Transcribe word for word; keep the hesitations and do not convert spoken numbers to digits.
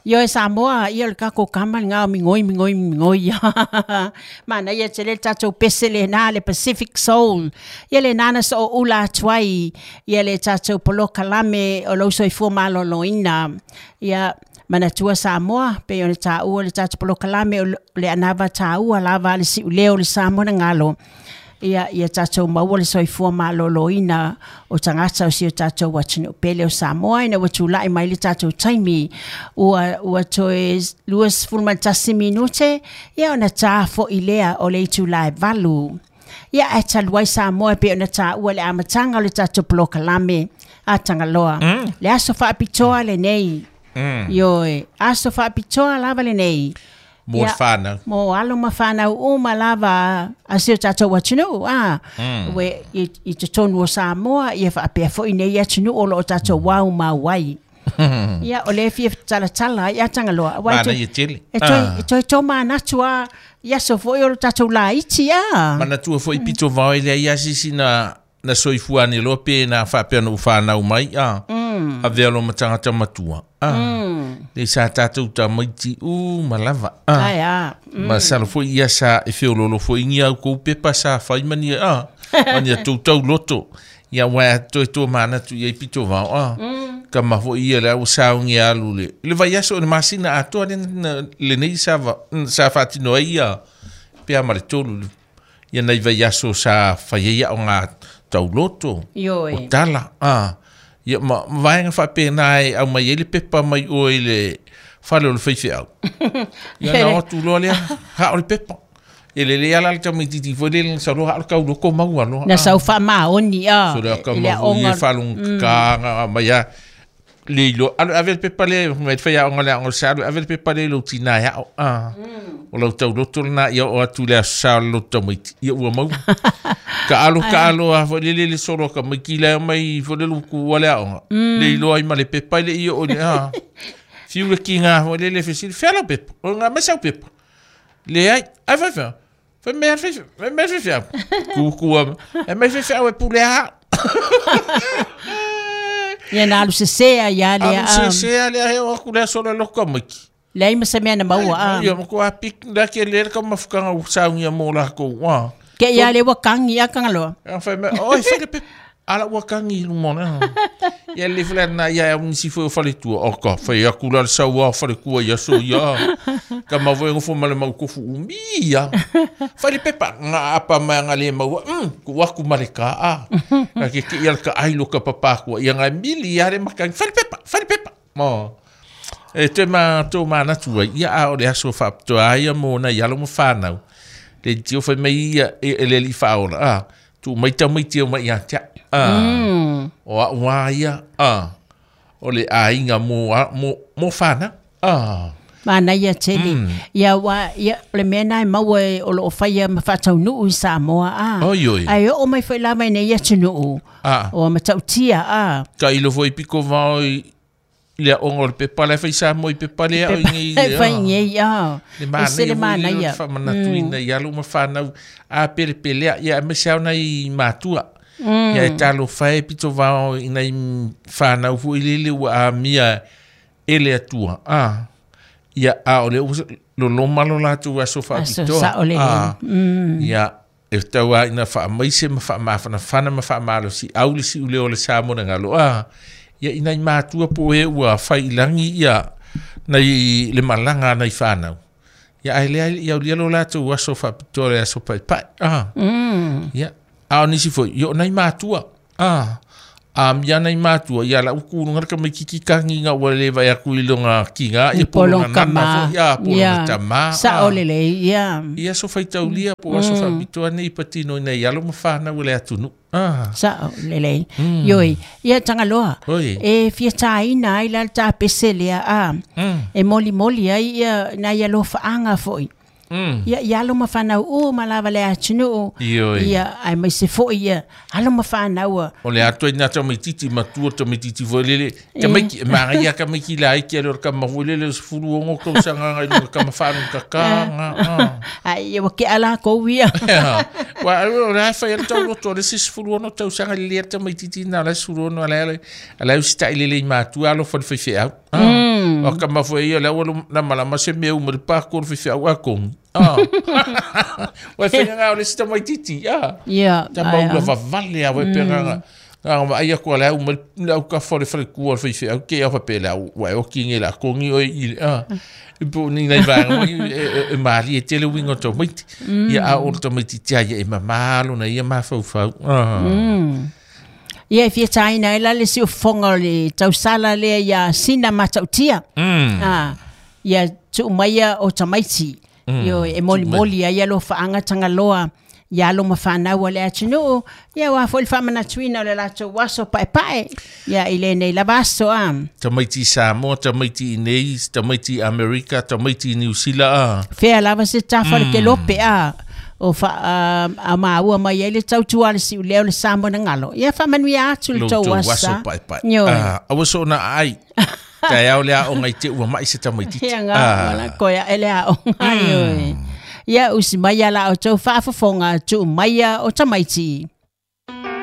Ioe Samoa, ia o le tatou kama lena o migoi migoi migoi. Manaia tele le tatou pese lena le Pacific Soul. Ia lena na sooula atu ai ia le tatou polokalame o lou soifua maloloina. Ia manatua Samoa, pei ona taua le tatou polokalame o le anava taua lava a le siuleo o le Samoa na galo. Ia, ia tatou maua le soifua maloloina o tagata o si o tatou atunuu pele o Samoa ina ua tulai mai le tatou taimi ua, ua toe luasefulu ma le tasi minute, ia ona ta fo'i lea o le itula e valu. Ia ae talu ai Samoa e pei ona taua i le amataga o le tatou polokalame a Tagaloa. Mm. Le aso faapitoa lenei. Mm. Ioe, aso faapitoa lava lenei. Mo le Ia, whānau. mo alo ma whānau uma lava a si o tatou atunuu, a. Mm. Ue, i, i totonu o Samoa, ia faapea foi nei atunuu o loo tatou wau mau ai. Ia, o le fia talatala ai a Tagaloa. Aua e Mana toe- ia tele. E toe, Ah. e toe tō manatu a, i aso foi o lo tatou laiti a. Manatua foi pito vao i lea ia sisi na na soifua ni loa pe na whaapea no whanau mai a. Mm. Avea lo matangata matua. A. Mm. Le sa tātou tamaiti u malava. A. Ai a. Mm. Ma salo foi ia sa e whiololo foi ngi au kou pepa sa whai mani a. Mani a tautau loto. Ia wai toe tō manatu ia i pito vao a. Mm. Ka ma foi ia le au saungi alu le. Le vai aso o le masina atoa le, le nei sa, va, sa whaatino ai ia. Pea ma le tolu. Ia nei vai aso sa whai ia o ngā tauloto. Ioe. O tala. Ah. Ia ma vaenga whapena ai au mai e le pepa mai o i le whale o le whaiwhi au. Ia na o tu loa lea, ha o le pepa. E le le ala le tamaititi foi le le sa loa ha o le kauloko mau aloa. Na sau whaamaoni a. So le ka I le mahu i e aonga- whalong kānga mai a le ilo. Alo ave le pepa le, mai whai aonga le aonga sa, alo ave le pepa le lo tina ia o. Ah. O lau tauloto lena ia o atu le aso sa o lo tamaiti. Ia ua mau. Ka alo ka alo a foi le le le solo ka mai ki lea mai foi le luku wale aonga. Le ilo ai ma le pepa i le ia o le a. Fiu le ki ngā foi le le fesili. Whia lau pepa. O ngā mai sau pepa. Le ai, ai whai whai. Whai mea whai whai mea whai whai. Kuku a. E mai whai whai e pule a. Ia na alu sesea ia lea. Alu a. se se a lea heo aku lea solo loko maiki. Leai ma se mea na maua a. Ia ma ko a pik la ke le ka mafukanga u saungia mo la ko. Wa. Ke ia le ua kangi a Tagaloa. A whai mea, oi, whai le pepa. Ala ua kangi lumona. Ia le fle na ia au nisi foi o fale tua. O ka, whai aku la le saua o fale kua ia so ia. Ka mawa e ngofo ma le maukofu umi ia. Whai le pepa, ngā apa mai ngā le maua. Mm, ku aku ma le ka a. Ka ke ke ia le ka ailo ka papakua. Ia ngā mili ia le makangi. Whai le pepa, whai le pepa. Mo. E te ma tō mānatua, ia a o le aso whaapitoa ia mōna i alo ma whānau. Le tio whai mai ia e, e le li whaola. Ah, tu mai tau mai tio mai ia tia. Ah. Mm. O a ua ia. Ah. O le ainga mō, a, mō, mō whānau. Ah. Manaia tele. Ia wa ia o le mea na e maua e o loo whaia ma whataunuu i Samoa a. Oi, oi. Ai o mai whai lava i nei atunuu. Ah. O matautia a. Ka ilo foi piko vao i le aonga o le pepa le whai Samoa i pepa le au i ngei. E whai ngei a. Le E se le mānaia manaia. foi le whamanatuina i alo ma whānau a pere pelea ia me se au nei mātua. Ia e talo whae pito vao i nei whānau fo i lele ua a mia e le atua. Ah. Ia a o le lo loma lo lātou aso Aso whaapitoa. sa o le Ah. Mm. Ia e tau a ina whaamaise ma whaamawhanawhana ma whaamalo si au le si ule o le Samoa na ngalo. Ah. Ia ina i mātua po e ua whai ilangi ia nei le malanga nei whānau. Ia ai lea ia ulia lo lātou aso whaapitoa le aso pai pai. Ah. Mm. Ia. A o nisi foi, io nei mātua. Ah. A mia nei mātua, ia la uku nunga ka mai kiki kangi ngā ua le vai aku i longa kinga, ia Polong polonga nana kama. foi, ia polonga Ia. tama. Sa ah. o le le ia. Ia so whaitaulia po aso whaapitoa nei patino nei alo ma whānau le atunu. Ah. Sa o le le. Ioi. Ia Tagaloa. Oi. E fia tāina ai la le tā pese lea a. Mm. E moli moli ai ia nai alofaʻaga foʻi. Ia ia alo ma whanau u ma lava le atunuu. Ia ai mai se foi ia alo ma whanau. O le atoa ina tamaititi matua tamaititi foi lele. Tamaiki manga ia tamaiki la iki ale o kama foi lele sefulu ono tausaga agai luga kama whaanu kaka. Ai ia wake ala kou ia. Wa o le fai ale tau loto le se sefulu ono tausaga le tamaititi na le sefulu ono ale ale usita'i lelei matua alo fa le faifeau. O kama foi ia le ua na malama se mea uma le pāku o le faifeau a kongi. Ua whenga ngā o le sita mai titi. Ia. Tama ula vavale a wai penganga. Ngā ma ai aku le au mai le au ka fo le fale kua le faifeau ke au pape le au wa o ki nge la kongi oi i le. I po ni nei vanga e maali e tele wingo tau maiti. Ia a o le tamaiti tia ia e mamalo na ia mafaufau. Ia e fia taina e la le si ufonga o le tausala lea ia sina matautia. Ia tuu maia o tamaiti. Io e moli moli ia lo whaanga tangaloa ia alo ma whanau le atunuu. Ia wā fo le whamanatuina o le latou aso pae pae. Ia i le nei lava aso a. Tamaiti Samoa, tamaiti Inei, tamaiti Amerika, tamaiti New Zealand a. Fea lava se tafa le ke lope a. O fa a maua mai ai le tautua le siu leo le Samoa na ngalo. Ia whamanuia atu le tau asa. Pae pae. Awa so na ai. Ka au le aonga i te ua mai se tamaititi. Ia ngā, wala koea ele aonga. Ia usi mai ala o tau whaafafonga tu maia o tamaiti.